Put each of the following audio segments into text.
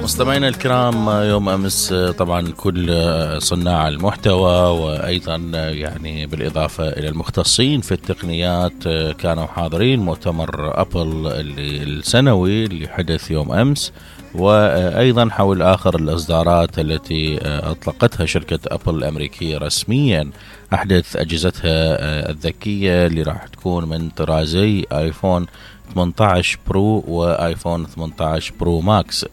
مستمعينا الكرام، يوم أمس طبعا كل صناع المحتوى وأيضا يعني بالإضافة إلى المختصين في التقنيات كانوا حاضرين مؤتمر أبل السنوي اللي حدث يوم أمس، وأيضا حول آخر الإصدارات التي أطلقتها شركة أبل الأمريكية رسميا أحدث أجهزتها الذكية اللي راح تكون من طرازي آيفون 18 برو وآيفون 18 برو ماكس.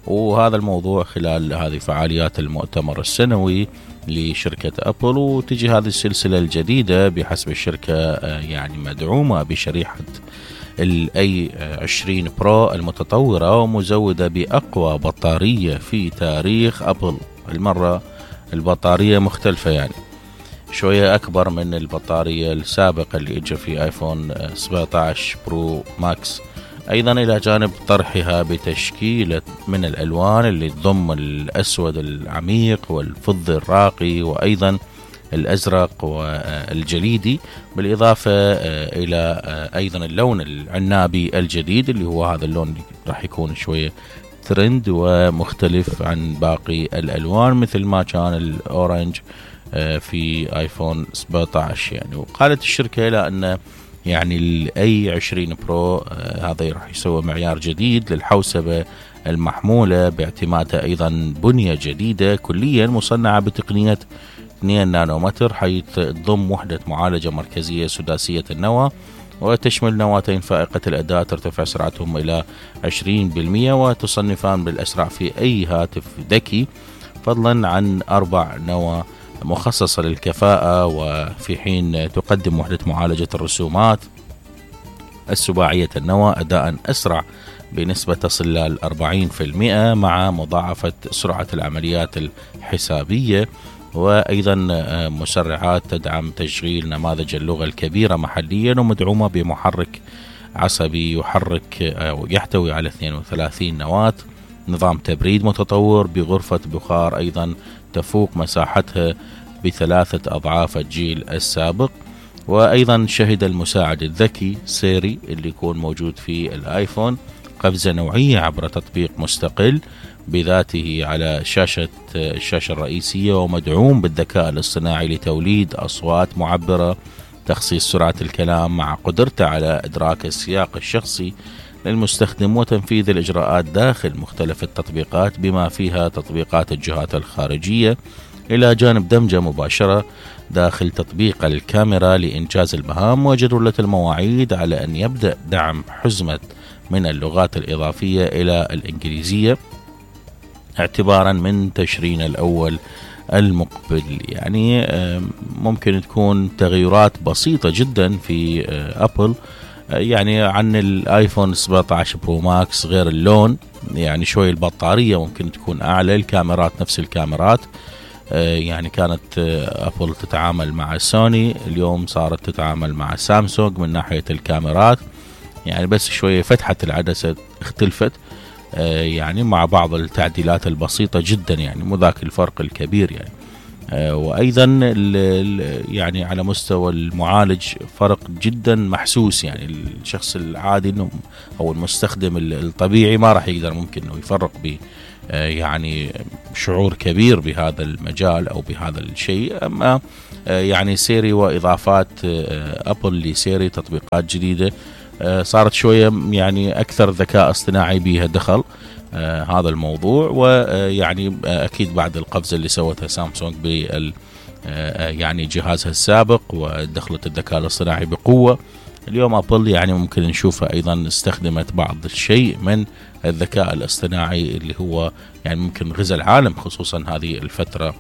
وهذا الموضوع خلال هذه فعاليات المؤتمر السنوي لشركة أبل، وتجي هذه السلسلة الجديدة بحسب الشركة يعني مدعومة بشريحة الاي 20 برو المتطورة ومزودة بأقوى بطارية في تاريخ أبل. المرة البطارية مختلفة، يعني شوية أكبر من البطارية السابقة اللي اجى في آيفون 17 برو ماكس. أيضا إلى جانب طرحها بتشكيلة من الألوان اللي تضم الأسود العميق والفضي الراقي وأيضا الأزرق والجليدي، بالإضافة إلى أيضا اللون العنابي الجديد اللي هو هذا اللون اللي راح يكون شوية ترند ومختلف عن باقي الألوان مثل ما كان الأورنج في آيفون 17 يعني. وقالت الشركة إلى أن يعني الاي 20 برو هذا راح يسوي معيار جديد للحوسبة المحمولة باعتمادها ايضا بنية جديدة كليا مصنعة بتقنية 2 نانومتر، حيث تضم وحدة معالجة مركزية سداسية النواة وتشمل نواتين فائقة الأداء ترتفع سرعتهم إلى 20% وتصنفان بالأسرع في أي هاتف ذكي، فضلا عن 4 نواة مخصصة للكفاءة، وفي حين تقدم وحدة معالجة الرسومات السباعية النواة أداء أسرع بنسبة تصل ل 40% مع مضاعفة سرعة العمليات الحسابية، وأيضا مسرعات تدعم تشغيل نماذج اللغة الكبيرة محليا، ومدعومة بمحرك عصبي يحتوي على 32 نواة، نظام تبريد متطور بغرفة بخار أيضا تفوق مساحتها ب3 أضعاف الجيل السابق. وأيضا شهد المساعد الذكي سيري اللي يكون موجود في الآيفون قفزة نوعية عبر تطبيق مستقل بذاته على الشاشة الرئيسية، ومدعوم بالذكاء الاصطناعي لتوليد أصوات معبرة، تخصيص سرعة الكلام مع قدرته على إدراك السياق الشخصي للمستخدم وتنفيذ الإجراءات داخل مختلف التطبيقات بما فيها تطبيقات الجهات الخارجية، إلى جانب دمجة مباشرة داخل تطبيق الكاميرا لإنجاز المهام وجدولة المواعيد، على أن يبدأ دعم حزمة من اللغات الإضافية إلى الإنجليزية اعتبارا من تشرين الأول المقبل. يعني ممكن تكون تغيرات بسيطة جدا في أبل يعني عن الايفون 17 برو ماكس، غير اللون، يعني شوي البطارية ممكن تكون اعلى، الكاميرات نفس الكاميرات، يعني كانت ابل تتعامل مع سوني، اليوم صارت تتعامل مع سامسونج من ناحية الكاميرات، يعني بس شوية فتحة العدسة اختلفت يعني مع بعض التعديلات البسيطة جدا، يعني مو ذاك الفرق الكبير يعني. وأيضا يعني على مستوى المعالج فرق جدا محسوس، يعني الشخص العادي أو المستخدم الطبيعي ما راح يقدر ممكن أنه يفرق ب يعني شعور كبير بهذا المجال أو بهذا الشيء. أما يعني سيري وإضافات أبل لسيري تطبيقات جديدة صارت شوية يعني أكثر ذكاء اصطناعي بها دخل هذا الموضوع، ويعني أكيد بعد القفزة اللي سوتها سامسونج بال يعني جهازها السابق ودخلت الذكاء الاصطناعي بقوة، اليوم أبل يعني ممكن نشوفها أيضا استخدمت بعض الشيء من الذكاء الاصطناعي اللي هو يعني ممكن غزا العالم خصوصا هذه الفترة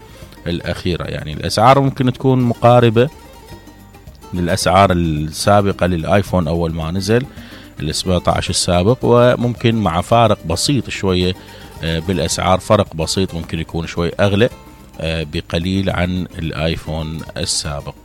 الأخيرة. يعني الأسعار ممكن تكون مقاربة للأسعار السابقة للآيفون أول ما نزل ال 17 السابق، وممكن مع فارق بسيط شوية بالأسعار، فرق بسيط ممكن يكون شوي أغلى بقليل عن الآيفون السابق.